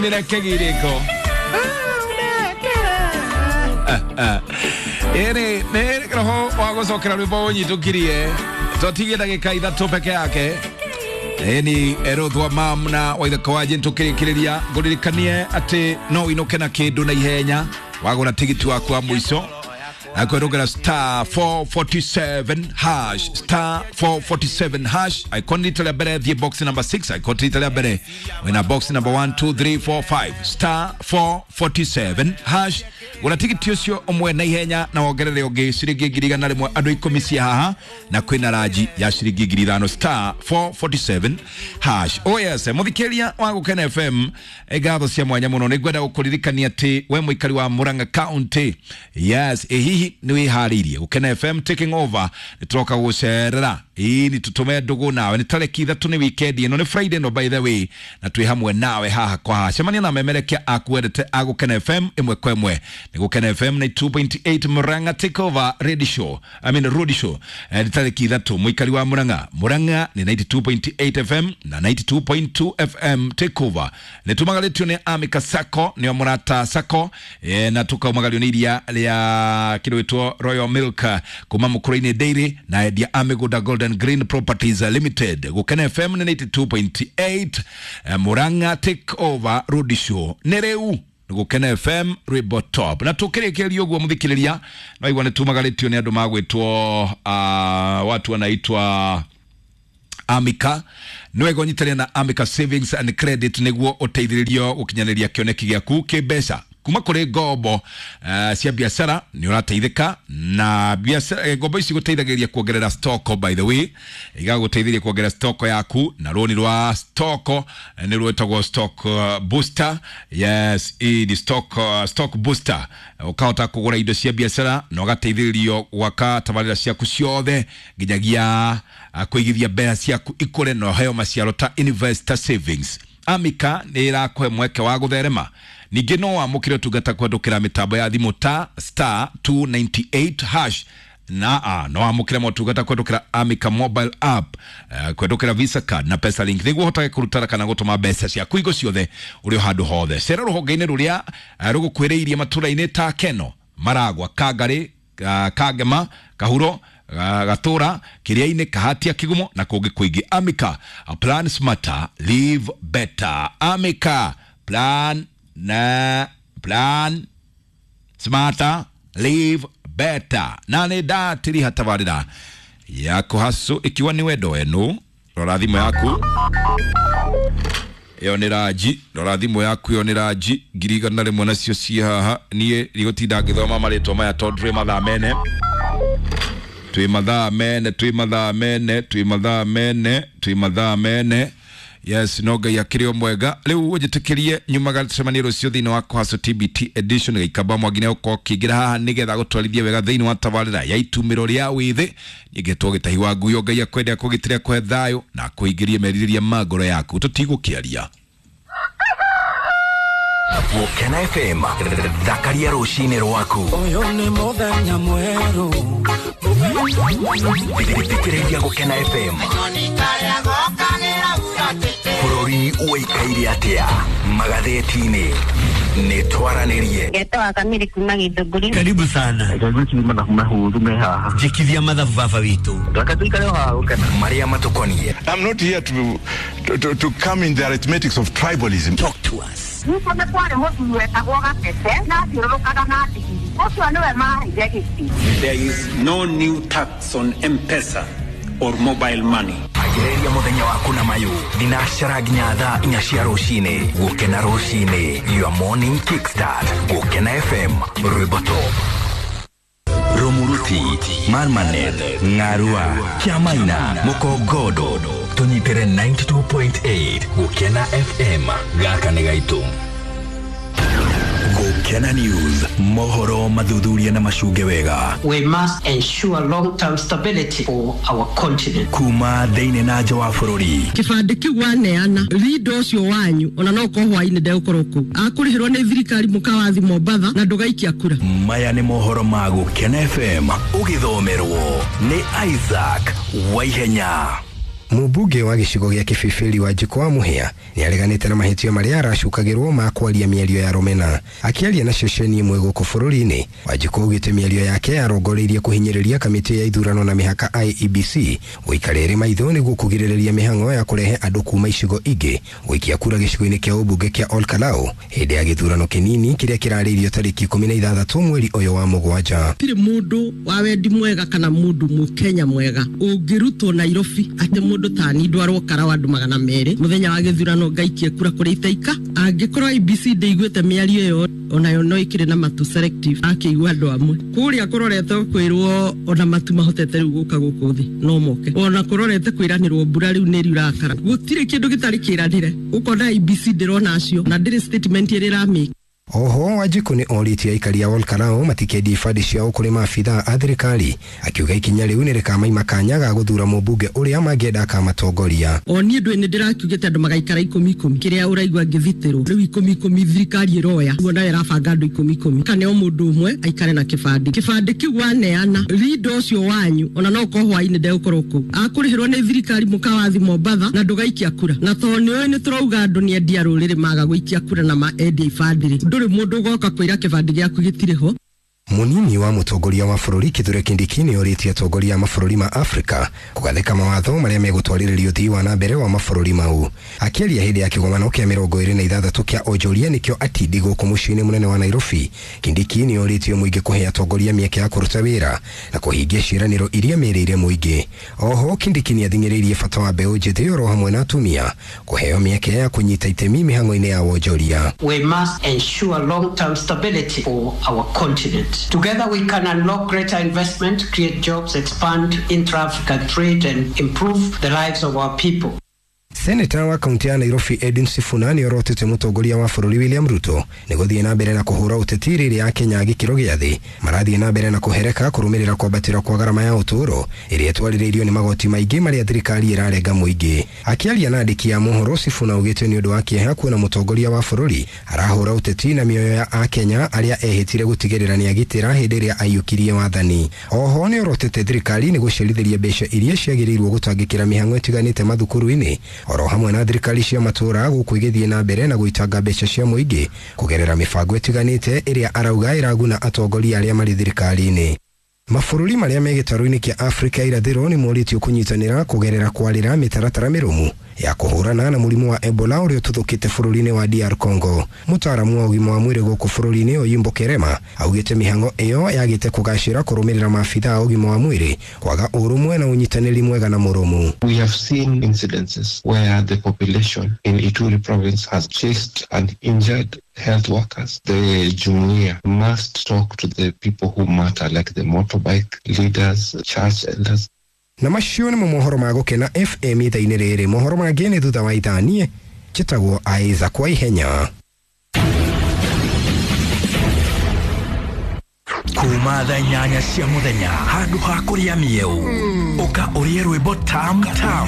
Nĩrekegirĩko ĩrĩ nĩ roho wa gũcokera rwĩmbo ũnyitũkirie twatigie ndagĩka 3 peke yake. Ĩni Ruth mam na Waithaka wa Jane tũkĩrĩkĩrĩria ngũririkanie atĩ no ũinũke na kĩndũ na ihenya wagũra tigiti waku wa mũico akwĩrũngĩra star 447 hash, star 447 hash. Icon rita rĩa mbere thiĩ box number 6, icon rita rĩa mbere wĩna box number 1 2 3 4 5, star 447 hash. Gũra tigiti ũcio ũmwe na ihenya na wongerere ũngĩ ciringi 100,000 andũ 10 cia haha na kwĩna ranji ya ciringi 5,000, star 447 hash. Oh yes, mũthikĩria wa Gũkena FM, ngatho cia mwanya mũno. Nĩngwenda gũkũririkania atĩ we mũikari wa Murang'a County, yes, ĩ hihi nĩ wĩharĩirie Gũkena FM taking over? Nĩ tũroka gũcerera ĩĩ nĩ tũtũme ndũgũ nawe. Nĩ tarĩki 3, nĩ weekend ĩno, nĩ Friday no, by the way, na twĩ hamwe nawe haha kwa haha. Cemania na memerekia akuendete a Gũkena FM ĩmwe kwa ĩmwe. Nĩ Gũkena FM 92.8 Murang'a take over radio show, I mean road show. Nĩ tarĩki 3, mũikari wa Murang'a. Murang'a nĩ 92.8 FM na 92.2 FM take over. Nĩ tumagarĩtio nĩ Amika Sacco, nĩo Mũrata Sacco, na tukaumagario nĩ iria rĩa kĩndũ gĩtwo Royal Milk kuma Mũkũrũ-inĩ Dairy na endia a mĩgũnda Golden Green Properties Limited. Gũkena FM nĩ 92.8, Murang'a take over road show nĩ rĩu Gũkena FM rwĩmbo top. Na tũkĩrĩkĩrĩria ũguo mũthikĩrĩria no igua nĩ tumagarĩtio nĩ andũ magwĩtwo watu wanaitwa Amika. Nĩ wega ũnyitanĩre na Amika Savings and Credit nĩguo ũteithĩrĩrio gũkinyanĩria kĩoneki gĩaku kĩmbeca kuma kũrĩ ngombo cia biacara. Nĩ ũrateithĩka na biacara. Ngombo ici gũteithagĩrĩria kuongerera stock, by the way, igagũteithĩrĩria kuongerera stock yaku, na rũni rwa stock nĩ rwĩtagwo stock booster. Yes, ĩ ni stock booster, ũkahota kũgũra indo cia biacara na ũgateithĩrĩrio gwaka tabarĩra ciaku ciothe nginyagia kũigithia mbeca ciaku ikũre na ũheo maciaro ta investor savings. Amika nĩ ĩrakũhe mweke wa gũtherema. Ningĩ no wamũkĩre ũtungata kũhetũkĩra mĩtambo ya thimũ ta star 298 hash na no wamũkĩre motungata kũhetũkĩra Amika mobile app, kũhetũkĩra Visa card na Pesa Link nĩguo ũhotage kũruta kana gũtũma mbeca ciaku igo ciothe ũrĩ o handũ hothe. Cera rũhonge-inĩ rũrĩa rũgũkuhĩrĩirie matũra-inĩ ta Keno, Maragwa, Kangarĩ, Kangema, Kahuro, Gatũra, Kĩrĩa-inĩ, Kahatia, Kigumo na kũngĩ kũingĩ. Amika, plan smarter, live better. Amika, plan na plan smarter, live better. Na nĩ ndatiriha tabarĩra ya kũhacu ikiwa nĩ wendo wenu. Rora thimũ yaku, ĩyo nĩ ranji. Rora thimũ yaku, ĩyo nĩ ranji 100,000 nacio ciĩ haha. Niĩ ndigũtinda ngĩthoma marĩtwa maya tondũ twĩ mathaa mene, twĩ mathaa mene, twĩ mathaa mene, twĩ mathaa mene, twĩ mathaa mene. Yes, no Ngai akĩrĩ o mwega. Rĩu ũnjĩtĩkĩrie nyumaga, tũcemanie rũciũ thĩinĩ wa Kũhaco TBT edition. Gĩikamba Mwangi nĩegũkorwo ũkĩingĩra haha nĩgetha gũtwarithie wega thĩinĩ wa tabarĩra ya itumĩro rĩa wĩthĩ. Ningĩtwo Gĩtahi wa Nguyo. Ngai akwende, akũgitĩre, akũhe thayũ na akũingĩrie merirĩria ma ngoro yaku. Tũtigũkĩaria. Gũkena FM, thakaria rũcinĩ rwaku. Ũyũ nĩ mũthenya mwerũ. Thikĩrĩria Gũkena FM. Bũrũri ũikaire atĩa magathĩti-inĩ? Nĩ twaranĩrie. Ngetwa Kamiri kuma Githũngũri. Karibu sana. Mahuru me haha. Njikithia mathabu baba witũ. Reke tuikare o haha Gũkena. Marĩa matũkoniĩ. I'm not here to come in the arithmetics of tribalism. Talk to us. Ningĩ nĩ kwarĩ mũthuri wetagwo Gatete na athiũrũrũkaga na ndigiri. Ũcio nĩwe maheire gĩtĩ. There is no new tax on M-Pesa or mobile money. Ambĩrĩria mũthenya waku na mayũ thinacara nginya thaa 4 cia rũcinĩ. Gũkena rũcinĩ, your morning kickstart. Gũkena FM, rwĩmbo top. Rumuruti, Marmanet, Ng'arua, Kĩamaina, Mũkongondo, tũnyitĩre 92.8 Gũkena FM. Gaka nĩ gaitũ. Gũkena News, mohoro mathuthuria na macunge wega. We must ensure long-term stability for our continent. Kuma thĩinĩ na nja wa bũrũri. Kĩbandĩ kĩu waneana rinda ũcio wanyu ona no ũkorwo hwainĩ ndegũkorwo kũu akũrĩhĩrwo nĩ thirikari mũkawathi Mombatha na ndũgaikia kura. Maya nĩ mohoro ma Gũkena FM, ũgĩthomerwo nĩ Isaac Waihenya. Mũmbunge wa gĩcigo gĩa Kĩbĩbĩri Wanjikũ wa Mũhĩa nĩ areganĩte na mahĩtia marĩa aracukagĩrwo ma kwaria mĩario ya rũmena. Akĩaria na ceceni ĩmwe gũkũ bũrũri-inĩ, Wanjikũ augĩte mĩario yake yarongoreirie kũhinyĩrĩria kamĩtĩ ya ithurano na mĩhaka IEBC gũikara ĩrĩ maitho nĩguo kũgirĩrĩria mĩhang'o ya kũrehe andũ kuma icigo ingĩ gũikia kura gĩcigo-inĩ kĩa ũmbunge kĩa Olkalau hĩndĩ ya gĩthurano kĩnini kĩrĩa kĩrarĩirio tarĩki 16 mweri ũyũ wa mũgwanja. Tirĩ mũndũ wa wendi mwega kana mũndũ mũkenya mwega ũngĩrutwo Nairobi atĩ mũndũ tani ndwarwo karawa andũ 200 mũthenya wa gĩthurano ngaikie kura kũrĩa itaika. Angĩkorwo IEBC ndĩiguĩte mĩario ĩyo onayo no ĩkĩrĩ na matu selective akĩigua andũ amwe kũrĩa kũrorete kwĩrwo ona matu mahotete rĩu gũka gũkũ thĩ no moke, ona kũrorete kwĩranĩrwo mbura rĩu nĩ riurakara, gũtirĩ kĩndũ gĩtarĩ kĩranĩre. Ũkona IEBC ndĩrona acio na ndĩrĩ statement ĩrĩa ĩramĩka. Oho Wanjikũ nĩ orĩtie aikari a Olkalau matikendie ibandĩ ciao kũrĩ maabithaa a thirikari, akiuga ikinya rĩu nĩ rĩkamaima kanya ga gũthuura mũmbunge ũrĩa mangĩenda akamatongoria. O niĩ ndũĩ nĩ ndĩrakiugĩte andũ magaikara 10 10, kĩrĩa ũraigua ngĩthitĩrwo rĩu 10 10 thirikari ĩroya ũguo nayo ĩrabanga andũ 10 10, kana o mũndũ ũmwe aikare na kĩbandĩ. Kĩbandĩ kĩu waneana rindo ũcio wanyu ona no ũkorwo hwainĩ ndegũkorwo kũu, akũrĩhĩrwo nĩ thirikari mũkawathi Mombatha na ndũgaikia kura, na tondũ nĩũĩ nĩ tũrauga andũ nĩ endia rũrĩrĩ maga gũikia kura na maendia ibandĩ rĩ, ndũrĩ mũndũ ũgoka kwĩra kĩbandĩ gĩaku gĩtirĩ ho. Mũnini wa mũtongoria wa bũrũri Kithure Kindiki nĩ orĩtie atongoria a mabũrũri ma Afrika kũgathĩka mawatho marĩa megũtwarĩrĩria ũthii wa na mbere wa mabũrũri mau. Akĩaria hĩndĩ ya kĩgomano kĩa 26 kĩa onjoria nĩkĩo Atindi gũkũ mũciĩ-inĩ mũnene wa Nairobi, Kindiki nĩ orĩtie mũingĩ kũhe atongoria mĩeke ya kũruta wĩra na kũhingia ciĩranĩro iria merĩire mũingĩ. Oho Kindiki nĩ athing'ĩrĩirie bata wa mbeũ njĩthĩ oro hamwe na atumia kũheo mĩeke ya kũnyita itemi mĩhang'o-inĩ ya wonjoria. We must ensure long-term stability for our continent. Together we can unlock greater investment, create jobs, expand intra-African trade and improve the lives of our people. Seneta wa kaunti ya Nairobi Edwin Sifuna nĩ orotete mũtongoria wa bũrũri William Ruto nĩ gũthiĩ na mbere na kũhũra ũteti rĩrĩa Akenya a gĩkĩro gĩa thĩ marathiĩ na mbere na kũhereka kũrũmĩrĩra kwambatĩra kwa garama ya ũtũũro ĩrĩa ĩtwarĩrĩirio nĩ magoti maingĩ marĩa thirikari ĩrarenga mũingĩ. Akĩaria na andĩki a mohoro, Sifuna augĩte nĩ ũndũ wa kĩeha kuona mũtongoria wa bũrũri arahũra ũteti na mĩoyo ya Akenya arĩa ehĩtire gũtigĩrĩra nĩ agitĩra hĩndĩ ĩrĩa aiyũkirie wathani. Oho nĩ orotete thirikari nĩ gũcerithĩria mbeca iria ciagĩrĩirwo gũtangĩkĩra mĩhang'o ĩtiganĩte mathukuru-inĩ oro hamwe na thirikari cia matũũra gũkũ igĩthiĩ na mbere na gũitanga mbeca cia mũingĩ kũgerera mĩbango ĩtiganĩte ĩrĩa arauga ĩraguna atongoria arĩa marĩ thirikari-inĩ. Mabũrũri marĩa me gĩtarũ-inĩ kĩa Afrika irathĩro nĩ morĩtio kũnyitanĩra kũgerera kwarĩra mĩtaratara mĩrũmu ya kũhũrana na mũrimũ wa Ebola ũrĩa ũtuthũkĩte bũrũri-inĩ wa DR Congo. Mũtaaramu wa ũgima wa mwĩrĩ gũkũ bũrũri-inĩ Oyimbo Kerema augĩte mĩhang'o ĩyo yagĩte kũgacĩra kũrũmĩrĩra maabithaa a ũgima wa mwĩrĩ kwaga ũrũmwe na ũnyitanĩri mwega na mũrũmu. We have seen incidences where the population in Ituri province has chased and injured health workers. The Jumuiya must talk to the people who matter, like the motorbike leaders, church elders. Na macio nĩmo mohoro ma Gũkena FM ithaa-inĩ rĩrĩ. Mohoro mangĩ nĩ thutha wa ithaa. Niĩ njĩtagwo Isaac kwa ihenya. Kuma thaa 8 cia mũthenya handũ ha kũrĩa mĩeũ ũka ũrĩe rwĩmbo tam tam.